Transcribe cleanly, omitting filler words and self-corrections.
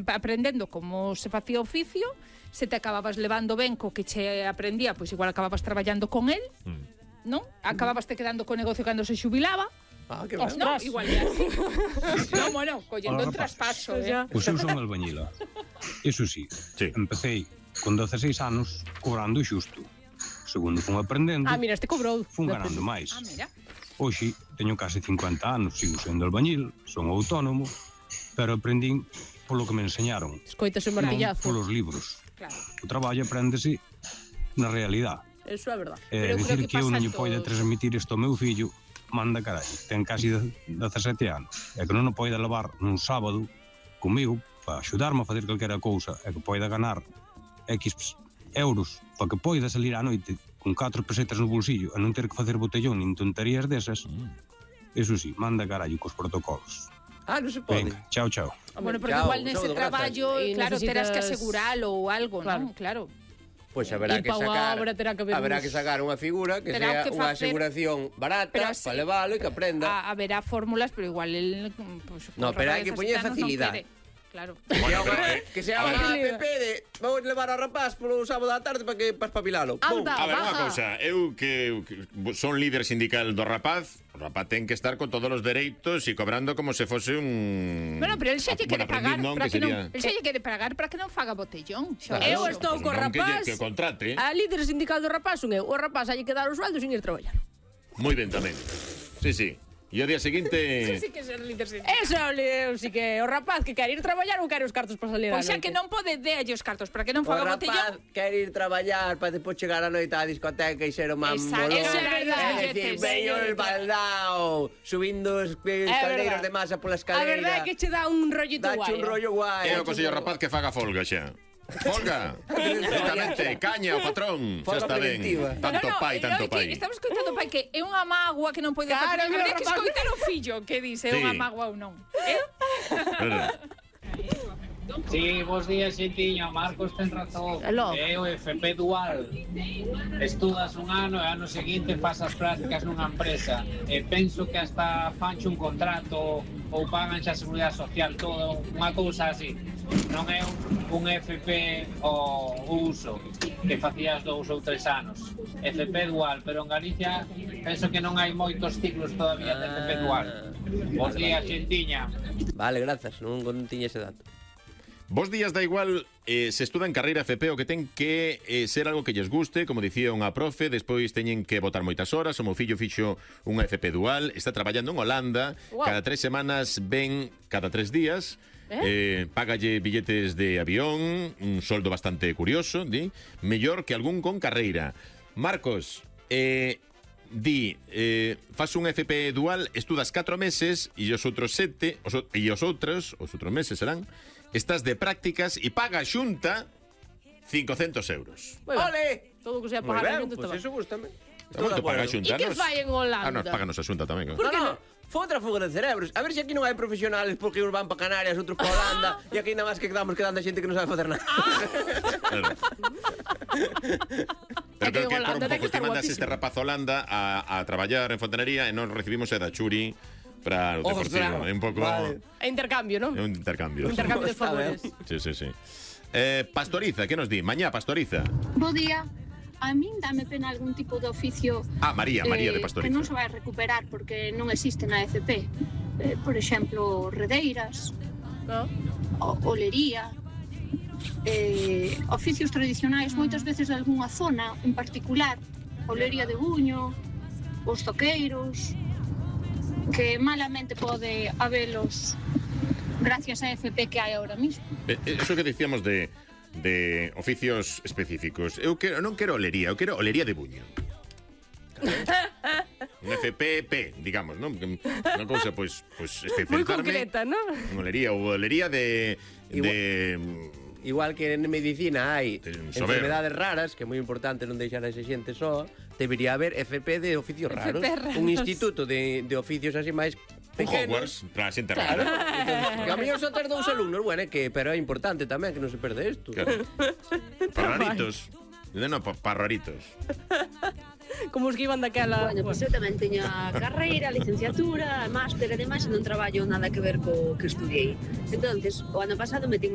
aprendendo como se facía oficio, se te acababas levando ben co que che aprendía, pois igual acababas traballando con el, non? Acababas te quedando co negocio cando se xubilaba. Ah, que ben. No, igual é así. No, bueno, collendo un traspaso, Pois eu son albañila. Iso sí, empecé con 16 anos cobrando xusto. Segundo fun aprendendo, mira, este cobrou. fun ganando máis. Mira. Hoxe teño case 50 anos, sigo sendo albañil, son autónomo, pero aprendín polo que me enseñaron. Escoitas o martillazo. Non polos libros. Claro. O traballo apréndese na realidade. Eso é verdade. Dicir que eu non lle poida transmitir isto ao meu fillo, manda carai, ten casi 17 anos. E que non o poida levar nun sábado comigo para axudarme a facer calquera cousa e que poida ganar X euros para que poida salir á noite con 4 pesetas no bolsillo e non ter que facer botellón nin tonterías desas. Eso sí, manda carallo cos protocolos. Non se pode. Venga, chao, chao. Bueno, porque igual nese traballo, claro, terás que aseguralo ou algo, non? Claro. Pois haberá que sacar unha figura que sea unha aseguración barata para levalo e que aprenda. Haberá fórmulas, pero igual el... No, pero hai que poñer facilidade. Claro. Que sea unha app de vamos levar ao rapaz polo sábado da tarde para espabilalo. A ver, unha cousa, eu que son líder sindical do rapaz, o rapaz ten que estar con todos os dereitos e cobrando como se fose un... Bueno, pero el xa lle quere pagar para que non... El xa lle quere pagar para que non faga botellón. Eu estou co rapaz. Que contrate. A líder sindical do rapaz son eu. O rapaz hai que dar o sueldo sin ir traballar. Moi ben tamén. Sí. E o día seguinte... Eso sí que é líder sindical. Eso sí que o rapaz que quere ir traballar ou quere os cartos para salir a noite. Pois xa que non pode dealle os cartos para que non faga botellón. O rapaz quere ir traballar para depois chegar a noite á discoteca e ser o man molón. Eso é verdade. É dicir, veño el baldao, subindo os escaleiros de masa pola escalera. A verdade é que che dá un rollito guai. Dache un rollo guai. É o consello rapaz que faga folga xa. Folga. Exactamente, caña o patrón. Xa está ben. Tanto pai. Estamos escoitando pai que é unha mágoa que non pode facer. Habría que escoitar o fillo que dice é unha mágoa ou non. Sí, bons días, xentiño. Marcos ten razón. É o FP dual. Estudas un ano e ano seguinte faz as prácticas nunha empresa. E penso que hasta fanche un contrato ou pagan xa a seguridade social, todo, unha cousa así. Non é un FP o uso que facías 2 ou 3 anos. FP dual, pero en Galicia penso que non hai moitos ciclos todavía de FP dual. Bons días, xentiña. Vale, grazas, non tiña ese dato. Vos días da igual se estuda en carreira FP o que ten que ser algo que lles guste, como dicía unha profe, despois teñen que botar moitas horas. O meu fillo fixo unha FP dual, está traballando en Holanda, cada 3 semanas ven cada 3 días, págalle billetes de avión, un soldo bastante curioso, mellor que algún con carreira. Marcos, faz un FP dual, estudas 4 meses e os outros 7, e os outros meses serán, estás de prácticas e paga a Xunta 500 euros. ¡Ole! Todo o que sea pagar a Xunta. Pois eso gustame. Moito paga a Xunta. E que fai en Holanda? Nos páganos a Xunta tamén. No, foi outra fuga de cerebros. A ver se aquí non hai profesionales porque uns van para Canarias, outros para Holanda e aquí nada máis que quedamos quedando a xente que non sabe facer nada. Pero creo que por un pouco te mandas este rapaz a Holanda a traballar en fontanería e non recibimos a da Churi para o deportivo. É un pouco... É intercambio, non? É un intercambio. Un intercambio de favores. Sí. Pastoriza, que nos di? Mañá, Pastoriza. Bo día. A min dame pena algún tipo de oficio María de Pastoriza, que non se vai recuperar porque non existe na FP. Por exemplo, redeiras, olería, oficios tradicionais moitas veces de algunha zona en particular, olería de Buño, os toqueiros, que malamente pode habelos gracias á FP que hai ahora mismo. Eso que dicíamos de oficios específicos. Eu non quero olería, eu quero olería de Buño. Un FPP, digamos, non? Unha cousa, pois especializarme. Moi concreta, non? Olería ou olería de Igual que en medicina hai enfermedades raras, que é moi importante non deixar a esa xente só, debería haber FP de oficios raros. Un instituto de oficios así máis pequenos. Hogwarts, para a xente rara. Que a mellor só ter 2 alumnos, bueno, pero é importante tamén que non se perde isto. Claro. Para raritos. Non, para raritos. Como os que iban daquela... Bueno, pois eu tamén teño a carreira, a licenciatura, a máster, ademais non traballo nada que ver co que estudiei. Entonces, o ano pasado metín